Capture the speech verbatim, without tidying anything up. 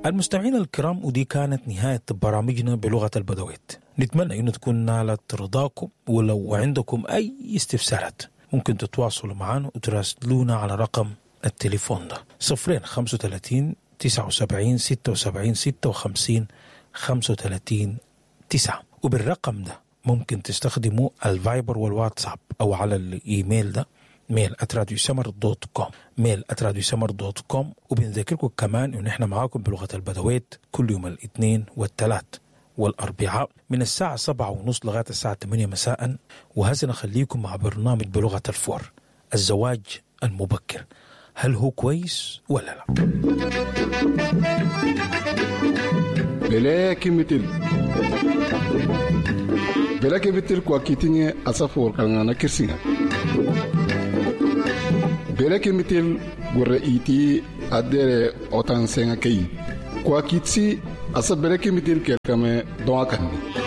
المستمعين الكرام، ودي كانت نهاية برامجنا بلغة البدويت. نتمنى أنه تكون نالت رضاكم، ولو عندكم أي استفسارات ممكن تتواصلوا معنا وتراسلونا على رقم التليفون ده صفرين خمسة وتلاتين تسعة وسبعين ستة وسبعين ستة وخمسين خمسة وتلاتين تسعة. وبالرقم ده ممكن تستخدموا الفايبر والواتساب أو على الإيميل ده mail at راديو سمر dot com، mail at راديو سمر dot com. وبنذكركم كمان إن إحنا معاكم بلغة البدويت كل يوم الاثنين والثلاث والأربعاء من الساعة سبعة ونص لغاية الساعة ثمانية مساء. وهسه نخليكم مع برنامج بلغة الفور، الزواج المبكر، هل هو كويس ولا لا؟ بلاكي مثل بلاكي مثل كواكيتيني أسافور كان كرسينا بلاكي مثل غوريتي أدير أوتان سينكي كواكيتسي أسا بلاكي مثل كركمي دواكني.